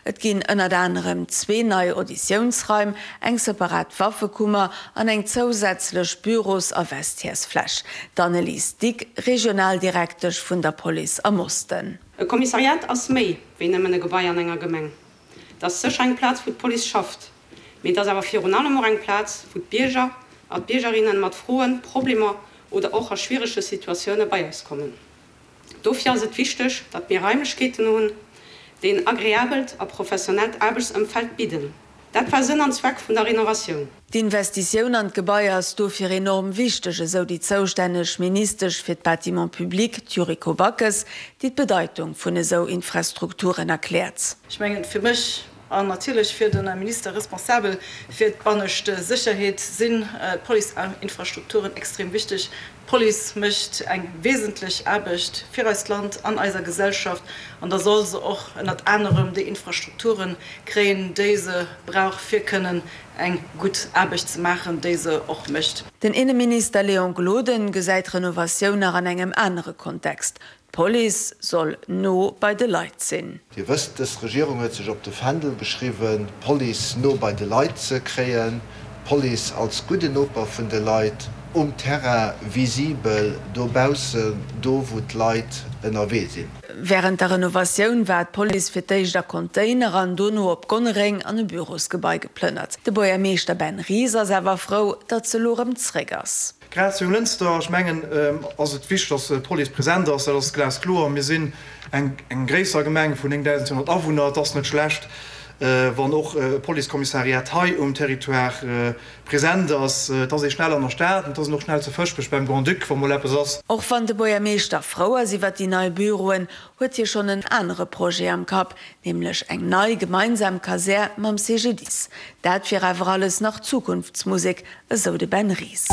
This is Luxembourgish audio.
Et ginn ënnert anerem zwee nei Auditiounsraim, eng separat Waffekummer an eng zousätzlech Büros a Vestiairesfläch. D'Annelise Dick, Regionaldirektesch vun der Police am Osten. E Kommissariat ass méi wéi nëmmen e Gebai an enger Gemeng. Et ass sécher eng Plaz, wou d'Police schafft, mee et ass awer virun allem och eng Plaz, wou d'Bierger a d'Biergerinnen mat Froen, Problemer oder och a schwierege Situatioune bei eis kommen. Dofir ass et wichteg, datt mir Raimlechkeeten hunn, déi en agreabelt a professionellt Aarbechtsëmfeld bidden. Dat war Sënn an Zweck vun der Renovatioun. D'Investitioun an d'Gebai ass dofir enorm wichteg, esou déi zoustänneg Ministesch fir d'Bâtiments publics, d'Yuriko Backes, déi d'Bedeitung vun esou Infrastrukturen erkläert. Ech mengen, fir mech An natierlech fir de Minister responsabel fir d'bannescht Sécherheet sinn d'Policeinfrastrukturen extrem wichteg. D'Police mécht eng wesentlech Aarbecht fir eist Land an eiser Gesellschaft an da soll se och ënnert anerem déi Infrastrukture kréien, déi se brauch, fir kënnen eng gutt Aarbecht ze maachen, déi se och mécht. Den Inneminister Léon Gloden gesäit d'Renovatioun nach an engem anere Kontext. D'Police soll no bei de Leit sinn. Dir wësst, dës Regierung huet sech op de Fändel geschriwwen, d'Police no bei de Leit ze kréien, d'Police als gudden Noper vun de Leit, um Terrain, visibel, dobaussen, do wou d'Leit ënnerwee sinn. Wärend der Renovatioun war d'Police fir d'éischt a Container an dono op Gonnereng an e Bürosgebai geplënnert. De Buergermeeschter Ben Ries ass awer frou, datt se elo erëm zréck ass. Grad zu Lënster, ech mengen, ass et wichteg, dass d'Police present ass. Dat ass glaskloer. Mir sinn eng gréisser Gemeng vun 9.200 Awunner. Et ass net schlecht, wann och e Policekommissariat hei um Territoire present ass. Et ass ee schnell an der Stad an et ass een och schnell zu Fëschbech beim Grand-Duc, wa mol eppes ass. Och wann de Buergermeeschter frou ass iwwer déi nei Büroen, huet hie schonn en anere Projet am Kapp, nämlech eng nei gemeinsam Kasär mam CGDIS. Dat wier awer alles nach Zukunftsmusek, esou de Ben Ries.